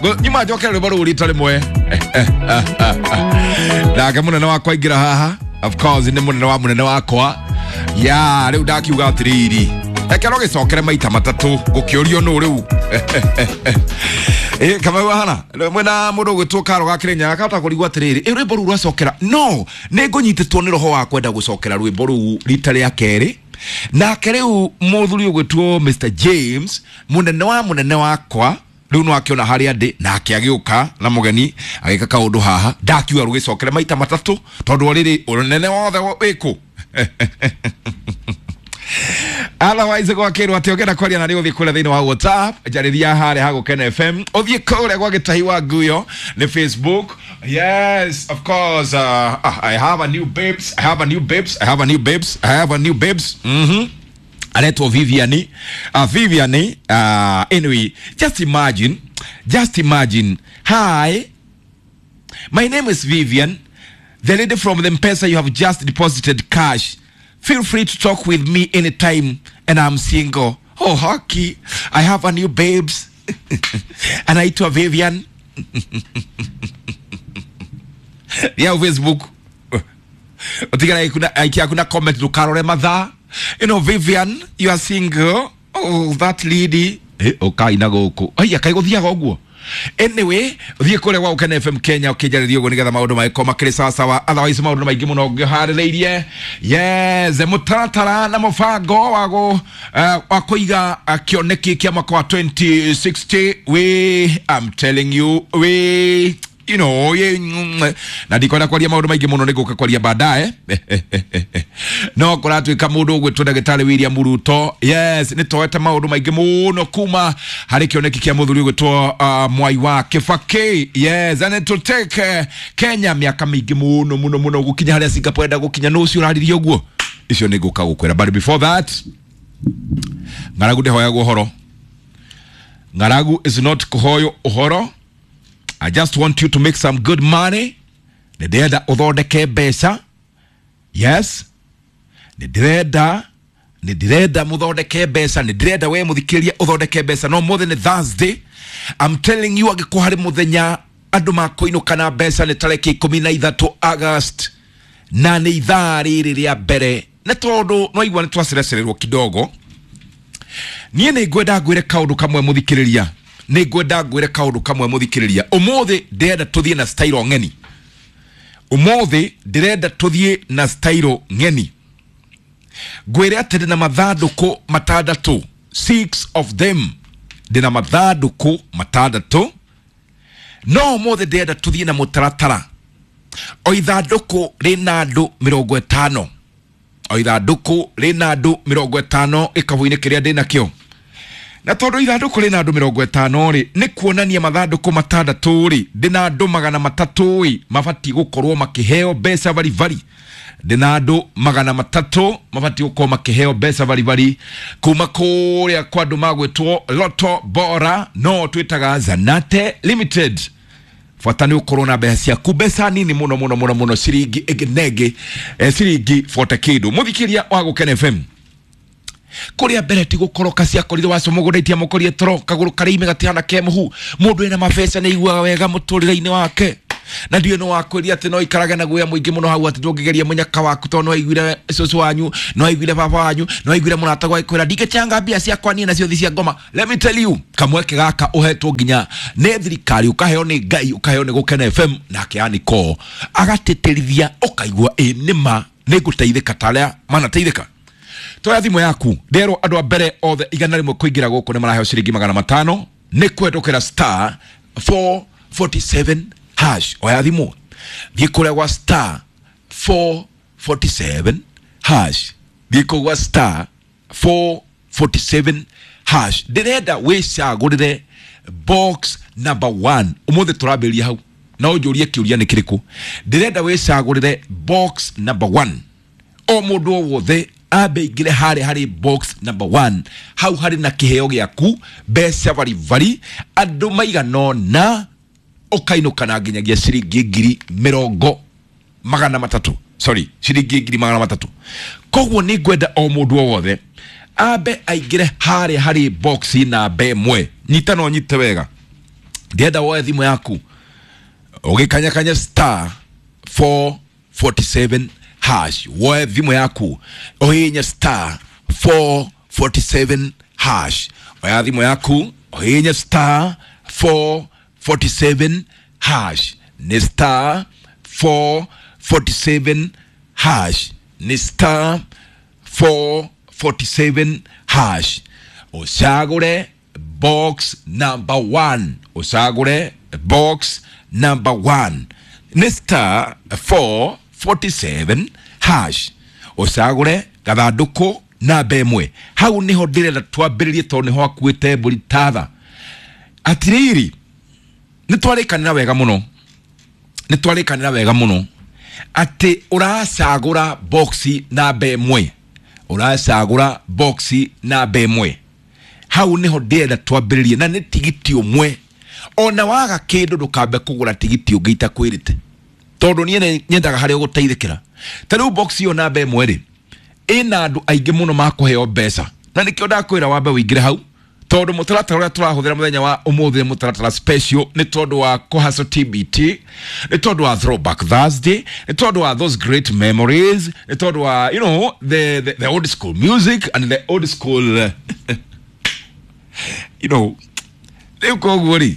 Nyuma njokere rwĩmbo rũu rita rĩmwe. Nake mũnene wakwa aingĩra haha, of course nĩ mũnene wa mũnene wakwa ya rĩu. Ndakiuga atĩrĩrĩ, reke no gĩcokere maita matatũ gũkĩũrio nũ rĩu. Ĩ Kamau ahana mwena mũndũ ũgwĩtwo Karo ga Kĩrĩnyaga akahota kũrigwo atĩrĩrĩ, ĩ rwĩmbo rũu rwacokera no nĩ ngũnyitĩtwo nĩ roho wa kwenda gũcokera rwĩmbo rũu rita rĩa kerĩ. Nake rĩu mũthuri ũgwĩtwo Mr James, mũnene wa mũnene wakwa, rĩu no akĩona harĩa ndĩ, nake agĩũka na mũgeni agĩka kaũndũ haha. Ndakiuga rũgĩcokere maita matatũ tondũ rĩrĩ ũnene wothe wĩkũ. Otherwise gwakĩrwo atĩ ũngĩenda kwaria na nĩ ũthiĩ kũrĩa thĩinĩ wa WhatsApp, njarĩria harĩa ha Gũkena FM, ũthiĩ kũrĩa gwa Gĩtahi wa Nguyo nĩ Facebook. Yes, of course, I have a new babes, I have a new babes, I have a new babes, I have a new babes. Aretwo Viviani, Viviani. Anyway, just imagine, just imagine. "Hi, my name is Vivian, the lady from the M-Pesa. You have just deposited cash. Feel free to talk with me anytime, and I'm single." Oh, hockey, I have a new babes, anaitwa Vivian ya Facebook. Utigana kuna aikia kuna comment, ndukarore mathaa. You know, Vivian, you are single. Oh, that lady. Eh, ukai na gũkũ aya kai gũthiaga ũguo. Anyway, thiĩ kũrĩa gwa Gũkena FM Kenya ũkĩnjarĩria ũguo nĩgetha maũndũ magĩkorwo makĩrĩ sawa sawa. Otherwise maũndũ maingĩ mũno ngĩharĩrĩirie. Yes, mũtaratara na mũbango wa gũ wa kũiga kĩoneki kĩa mwaka wa 2060. We, I'm telling you, we you know ye, na ndikwenda kwaria maũndũ maingĩ mũno, nĩ ngũka kwaria baadaye. No kũratuĩka mũndũ ũgwĩtwo ndagĩtarĩ William Ruto, yes, nĩ toete maũndũ maingĩ mũno kuma harĩ kĩoneki kĩa mũthuri ũgwĩtwo Mwai wa Kibaki. Yes, and it will take Kenya mĩaka mĩingĩ mũno mũno mũno gũkinya harĩa Singapore enda gũkinya. Nũ ũcio ũraririe ũguo? Icio nĩ ngũka gũkwĩra, but before that, ng'aragu ndĩhoyagwo ũhoro. Ng'aragu is not kũhoywo ũhoro. I just want you to make some good money. Nĩ ndĩrenda ũthondeke mbeca. Yes, nĩ ndĩrenda mũthondeke mbeca. Nĩ ndĩrenda we mũthikĩrĩria ũthondeke mbeca. No mũthĩ nĩ Thursday. I'm telling you, angĩkorwo harĩ mũthenya andũ makũinũka na mbeca nĩ tarĩki 13 August, na nĩ ithaa rĩrĩ rĩa mbere, nĩ tondũ no igua nĩ twacerecererwo kidogo. Niĩ nĩ ngwenda ngwĩre kaũndũ kamwe mũthikĩrĩria, nĩ ngwenda ngwĩre kaũndũ kamwe mũthikĩrĩria. Ũmũthĩ ndĩrenda tũthiĩ na style ng'eni. Ũmũthĩ ndĩrenda tũthiĩ na style ng'eni. Ngwĩre atĩ ndĩna mathandũkũ matandatũ, six of them. Ndĩna mathandũkũ matandatũ, no ũmũthĩ ndĩrenda tũthiĩ na mũtaratara. O ithandũkũ rĩna andũ 50, o ithandũkũ rĩna andũ 50 gĩkabũ-inĩ kĩrĩa ndĩnakĩo. Na tondũ ithandũkũ rĩna andũ 50 rĩ, nĩ kuonania mathandũkũ matandatũ rĩ, ndĩna andũ 300 ĩ mabatiĩ gũkorwo makĩheo mbeca baribari. Ndĩna andũ 300 mabatiĩ gũkorwo makĩheo mbeca baribari kuma kũrĩa kwa andũ magwĩtwo Loto Bora, no twĩtaga Zanate Limited. Bata nĩ ũkorwo na mbeca ciaku, mbeca nini mũno mũno mũno mũno, ciringi ĩngĩ na ĩngĩ, ciringi 40 kĩndũ. Mũthikĩria wa Gũkena FM, kũrĩa mbere ti gũkoroka ciakorire waco mũgũnda itiamũkorie toro kagũrũ karĩime gatihana ke mũhu. Mũndũ wĩna mabeca nĩ aiguaga wega mũtũrĩre-inĩ wake, na ndiũĩ no wakwĩria atĩ no ikarage na guoya mũingĩ mũno hau atĩ ndũngĩgeria mũnyaka waku, tondũ no aiguire cũcũ wanyu, no aiguire baba wanyu, no aiguire mũrata gwaikwĩra ndingĩchanga mbia ciakwa niĩ nacio thi cia ngoma. Let me tell you, kamweke gaka ũhetwo nginya nĩ thirikari, ũkaheo nĩ Ngai, ũkaheo nĩ Gũkena FM, nake Aniko agatĩtĩrithia, ũkaigua ĩ nĩma nĩ ngũteithĩka ta arĩa manateithĩka. Toya thimũ yaku. Nderwo andũ a mbere othe 100 kũingĩra gũkũ nĩ maraheo ciringi 500 nĩ kũhetũkĩra *447#. Oya thimũ, thiĩ kũrĩa gwa *447#, thiĩ kũu gwa *447#. Ndĩrenda wĩcagũrĩre box number 1. Ũmũthĩ tũrambĩrĩria hau na ũnjũrie kĩũria nĩ kĩrĩkũ. Ndĩrenda wĩcagũrĩre box number 1. O mũndũ o wothe ambe ingĩre harĩa harĩ box number 1, hau harĩ na kĩheo gĩaku, mbeca baribari, andũ maigana ũna ũkainũka na nginyagia ciringi 300,000, sorry, ciringi 300,000. Koguo nĩ ngwenda o mũndũ o wothe ambe aingĩre harĩa harĩ box namba 1. Nyita no nyite wega. Ndĩrenda woe thimũ yaku ũgĩkanyakanya star 447 hash, woe thimũ yaku ũhihinye star 447 hash, oya thimũ yaku ũhihinye star 447 hash, nĩ star 447 hash, nĩ star 447 hash, ũcagũre box number 1, ũcagũre box number 1, nĩ star 447 hash, ũcagũre gathandũkũ namba ĩmwe. Hau nĩho ndĩrenda twambĩrĩrie tondũ nĩho akuĩte mbũri tatha. Atirĩrĩ, nĩ twarĩkanĩra wega mũno, nĩ twarĩkanĩra wega mũno atĩ ũracagũra boxi namba ĩmwe, ũracagũra boxi namba ĩmwe. Hau nĩho ndĩrenda twambĩrĩrie, na nĩ tigiti ũmwe. Ona waga kĩndũ ndũkambe kũgũra tigiti ũngĩ itakwĩrĩte, tondũ niĩ nyendaga harĩa ũgũteithĩkĩra. Ta rĩu box ĩyo namba ĩmwe rĩ, ĩna andũ aingĩ mũno makũheo mbeca, na nĩkĩo ndakwĩra wambe ũingĩre hau, tondũ mũtaratara ũrĩa tũrahũthĩra mũthenya wa ũmũthĩ nĩ mũtaratara special, nĩ tondũ wa kũhaco TBT, nĩ tondũ wa Throwback Thursday, nĩ tondũ wa those great memories, nĩ tondũ wa you know the old school music and the old school you know. Rĩu koguo rĩ,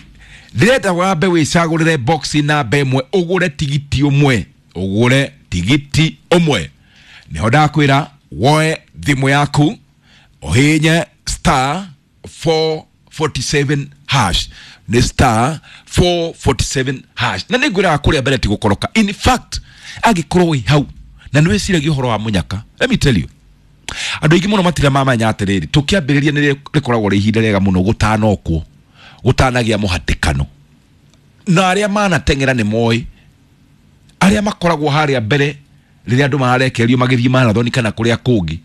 ndĩrenda wambe wĩcagũrĩre box namba ĩmwe, ũgũre tigiti ũmwe, ũgũre tigiti ũmwe. Nĩho ndakwĩra woe thimũ yaku ũhihinye star 447 hash, nĩ star 447 hash. Na nĩngwĩraga kũrĩa mbere ti gũkoroka. In fact, angĩkorwo wĩ hau na nĩ wĩciragia ũhoro wa mũnyaka, let me tell you, andũ aingĩ mũno matirĩ mamenya atĩrĩrĩ, tũkĩambĩrĩria nĩ rĩkoragwo rĩ ihinda rĩega mũno gũtanokwo, gũtanagĩa mũhatĩkano, na arĩa manateng'era nĩ moĩ, arĩa makoragwo harĩa mbere rĩrĩa andũ mararekererio magĩthiĩ marathoni kana kũrĩa kũngĩ,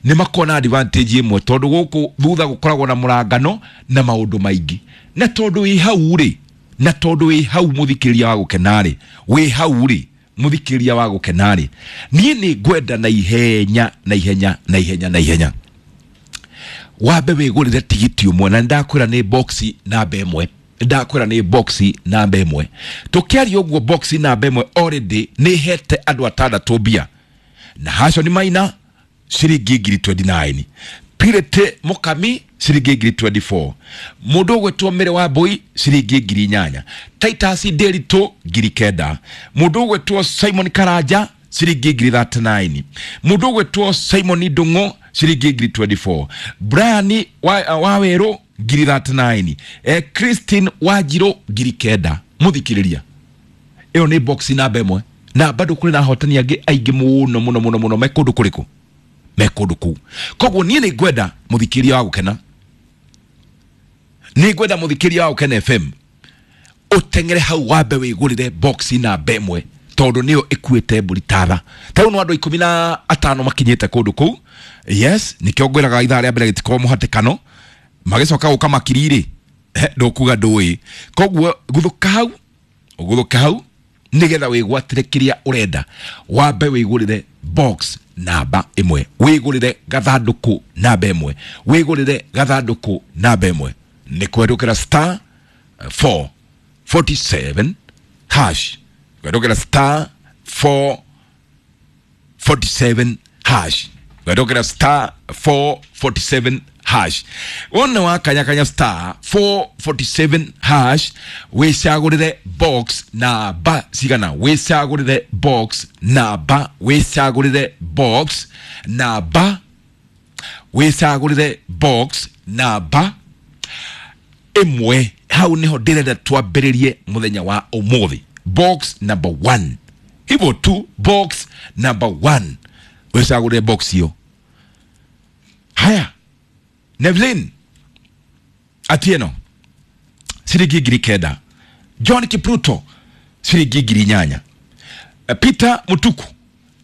nĩ makoragwo na advantage ĩmwe, tondũ gũkũ thutha gũkoragwo na mũrangano na maũndũ maingĩ. Na tondũ wĩ hau rĩ, na tondũ wĩ hau mũthikĩrĩria wa gũkena rĩ, wĩ hau rĩ mũthikĩrĩria wa gũkena rĩ, niĩ nĩ ngwenda na ihenya na ihenya na ihenya na ihenya wambe wĩgũrĩre tigiti ũmwe, na nĩndakwĩra nĩ boxi namba ĩmwe, ndakwĩra nĩ boxi namba ĩmwe. Tũkĩaria ũguo boxi namba ĩmwe already nĩ hete andũ atandatũ mbia, na haco nĩ maina ciringi ngiri 29, Pirate Mukami ciringi ngiri 24, mũndũ ũgwĩtwo Mĩrĩ wa Mbũi ciringi ngiri 8, Titus Nderitu ngiri 9, mũndũ ũgwĩtwo Simon Karanja ciringi ngiri 39, mũndũ ũgwĩtwo Simon Ndung'u ciringi ngiri 24, Brian wa Werũ ngiri 39, Christine Wanjirũ ngiri 9. Mũthikĩrĩria, ĩyo nĩ box namba ĩmwe, na bado kũrĩ na ahotani angĩ aingĩ mũno mũno mũno mũno me kũndũ kũrĩkũ, me kũndũ kũu. Koguo niĩ nĩ ngwenda mũthikĩrĩria wa gũkena, nĩ ngwenda mũthikĩrĩria wa Gũkena FM ũteng'ere hau wambe wĩgũrĩre box namba ĩmwe, tondũ nĩyo ĩkuĩte mbũri tatha. Ta rĩu no andũ 15 makinyĩte kũndũ kũu. Yes, nĩkĩo ngwĩraga ithaa rĩa mbere gĩtikorwo mũhatĩkano, magĩcoka gũka makiri rĩ, ndũkuga ndũĩ. Koguo guthũka hau, ũguthũke hau nĩgetha wĩgwatĩre kĩrĩa ũrenda, wambe wĩgũrĩre box namba ĩmwe, wĩgũrĩre gathandũkũ namba ĩmwe, wĩgũrĩre gathandũkũ namba ĩmwe. Nĩ kũhetũkĩra star 447 hash, kũhetũkĩra star 447 hash, kũhetũkĩra star 447 hash. Wona wakanyakanya star 447 hash, wĩcagũrĩre box namba cigana, wĩcagũrĩre box namba, wĩcagũrĩre box namba, wĩcagũrĩre box namba ĩmwe. Hau nĩho ndĩrenda twambĩrĩrie mũthenya wa ũmũthĩ, box number 1, hivyo tu, box number 1, wĩcagũrĩre box hiyo. Haya, Nevlin Atieno ciringi ngiri 9, John Kipruto ciringi ngiri 8, Peter Mutuku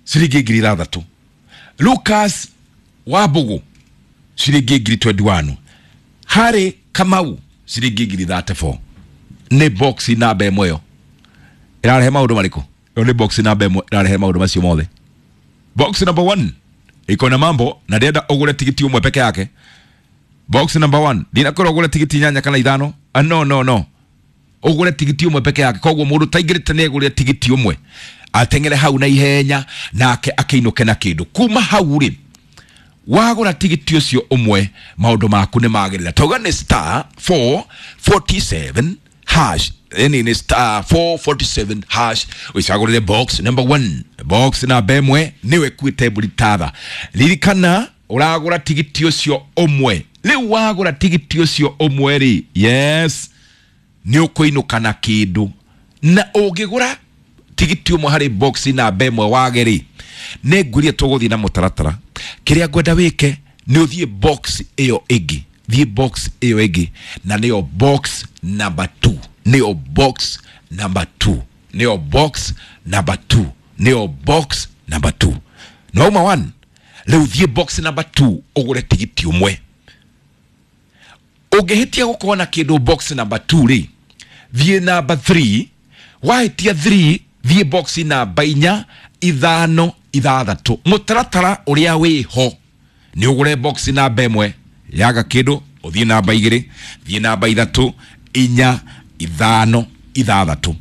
ciringi ngiri 6, Lucas Wabugu ciringi ngiri 21, Harry Kamau ciringi ngiri 34. Nĩ box namba ĩmwe ĩyo ĩrarehe maũndũ marĩkũ? Ĩyo nĩ box namba ĩmwe ĩrarehe maũndũ macio mothe. Box number 1 iko na mambo, na ndĩrenda ũgũre tigiti ũmwe peke yake. Box number 1 ndinakorwo ũgũre tigiti 8 kana 5. No no no, Ũgũre tigiti ũmwe peke yake. Koguo mũndũ taingĩrĩte nĩ egũrĩre tigiti ũmwe, ateng'ere hau na ihenya nake akĩinũke na kĩndũ. Kuma hau rĩ, wagũra tigiti ũcio ũmwe, maũndũ maku nĩ magĩrĩra. Tauga nĩ star 447 hash, yani nĩ star 447 hash, ũcagũrĩre box number 1, box namba ĩmwe nĩwe ĩkuĩte mbũri tatha. Ririkana ũragũra tigiti ũcio ũmwe. Rĩu wagũra tigiti ũcio ũmwe rĩ, yes, nĩ ũkũinũka na kĩndũ. Na ũngĩgũra tigiti ũmwe harĩ box namba ĩmwe wage rĩ, nĩ ngwĩrire tũgũthiĩ na mũtaratara. Kĩrĩa ngwenda wĩke nĩ ũthiĩ box ĩyo ĩngĩ, thiĩ box ĩyo ĩngĩ, na nĩyo box number 2, nĩyo box number 2, nĩyo box number 2, nĩyo box number 2. Nĩwauma 1, rĩu thiĩ box number 2 ũgũre tigiti ũmwe. Ũngĩhĩtia gũkorwo na kĩndũ box number 2 rĩ, thiĩ number 3. Wahĩtia 3, thiĩ box namba 4, 5, 6. Mũtaratara ũrĩa wĩho nĩ ũgũre box namba ĩmwe, yaga kĩndũ ũthiĩ namba 2, thiĩ namba 3, 4, 5, 6.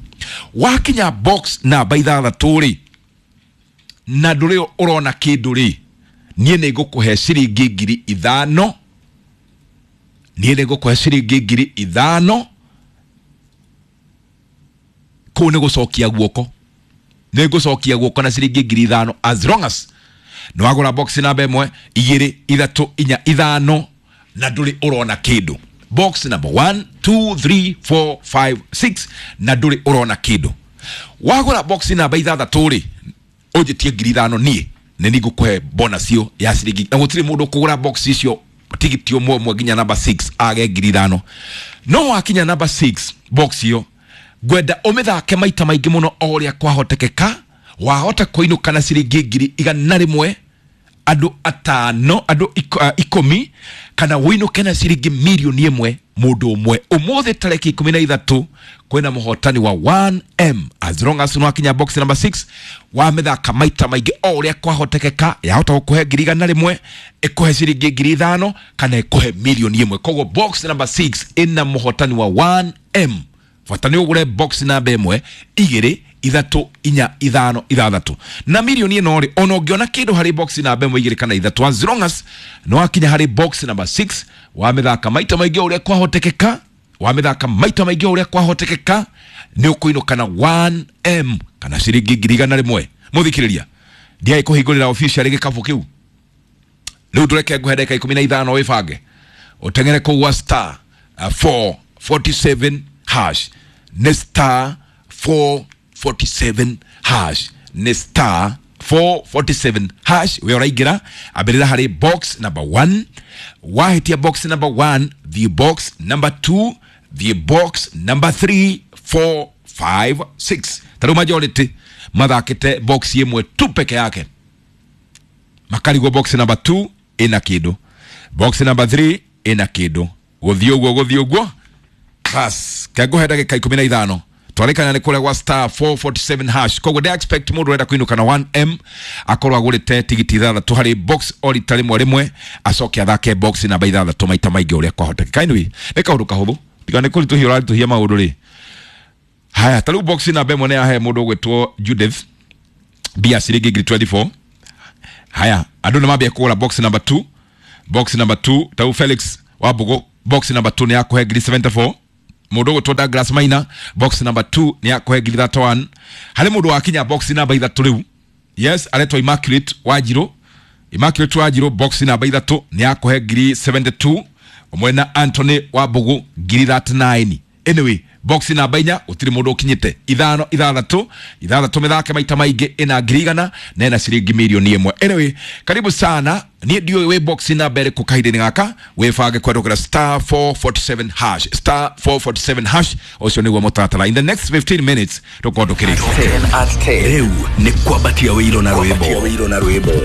Wakinya box namba 6 rĩ, na ndũrĩ ũrona kĩndũ rĩ, niĩ nĩ ngũkũhe ciringi 5,000. Niĩ nĩ ngũkũhe ciringi 5,000. Kũu nĩ gũcokia guoko, nĩ ngũcokia guoko na ciringi 5,000, as long as nĩ wagũra box namba 1, 2, 3, 4, 5 na ndũrĩ ũrona kĩndũ. Box number 1, 2, 3, 4, 5, 6 na ndũrĩ ũrona kĩndũ. Wagũra box namba 6 rĩ, ũnjĩtie 5,000, niĩ nĩ nĩngũkũhe bonus ĩyo ya ciringi. Na gũtirĩ mũndũ ũkũgũra box icio tigiti ũmwe ũmwe nginya namba 6 age 5,000. No wakinya namba 6 box ĩyo, ngwenda ũmĩthake maita maingĩ mũno o ũrĩa kwahotekeka. Wahota kũinũka na ciringi 100,000, andũ 5, andũ 10, kana ũinũke na ciringi 1,000,000 mũndũ ũmwe. Ũmũthĩ tarĩki 13 kwĩna mũhotani wa 1M. As long as nĩwakinya box number 6, wamĩthaka maita maingĩ o ũrĩa kwahotekeka, yahota gũkũhe 100,000, ĩkũhe ciringi 5,000, kana ĩkũhe 1,000,000. Koguo box number 6 ĩna mũhotani wa 1M. Bata nĩ ũgũre box namba 1, 2, 3, 4, 5, 6. Na mirioni ĩno rĩ, ona ũngĩona kĩndũ harĩ box namba 1, 2 kana 3, as long as nĩwakinya harĩ box number 6, wamĩthaka maita maingĩ o ũrĩa kwahotekeka, wamĩthaka maita maingĩ o ũrĩa kwahotekeka, nĩ ũkũinũka na 1M kana ciringi 100,000. Mũthikĩrĩria, ndiaĩ kũhingũrĩra officially gĩkabũ kĩu. Rĩu ndũreke ngũhe ndagĩka 15 wĩbange, ũteng'ere kũu gwa star 447 hash. Nĩ star 447 hash, nĩ star 447 hash. We ũraingĩra, ambĩrĩra harĩ box number 1. Wahĩtia box number 1, thiĩ box number 2, thiĩ box number 3, 4, 5, 6. Ta rĩu majority mathakĩte box ĩmwe tu peke yake, makarigwo box number 2 ĩna kĩndũ, box number 3 ĩna kĩndũ, gũthiĩ ũguo gũthiĩ ũguo. Bas, kengũhe ndagĩka 15 twarĩkana nĩ kũrĩa gwa star 447 hash. Koguo ndĩ expect mũndũ ũrenda kũinũka na 1M akorwo agũrĩte tigiti 6 harĩ box o rita rĩmwe rĩmwe, acoke athake box namba 6 maita maingĩ ũrĩa kwahotekeka. Anyway, nĩ kaũndũ kahũthũ, tiga nĩ kũritũhia ũraritũhia maũndũ rĩ. Haya, ta rĩu box namba 1 nĩ yahe mũndũ ũgwĩtwo Judith mbia ciringi 24,000. Haya, andũ nĩ mambia kũgũra box number 2, box number 2. Ta rĩu Felix Wambũgũ, box number 2 nĩ yakũhe 74,000. Mũndũ ũgwĩtwo Douglas Maina, box number 2 nĩ yakũhe 31,000. Harĩ mũndũ wakinya box namba 3 rĩu, yes, aretwo Immaculate Wanjirũ. Immaculate Wanjirũ, box namba 3 nĩ yakũhe 72,000, ũmwe na Anthony Wambũgũ 39,000. Anyway, box namba 4 gũtirĩ mũndũ ũkinyĩte. 5, 6, 6 mĩthake maita maingĩ, ĩna 100,000 na ĩna ciringi 1,000,000. Anyway, karibu sana. Niĩ ndiũĩ wĩ box namba ĩrĩkũ kahinda-inĩ gaka, wĩbange kwendũkĩra star 447 hash, star 447 hash. Ũcio nĩguo mũtaratara. In the next 15 minutes tũkorwo tũkĩrĩkia. 10 at 10. Rĩu nĩ kwambatia wĩiro na rwĩmbo.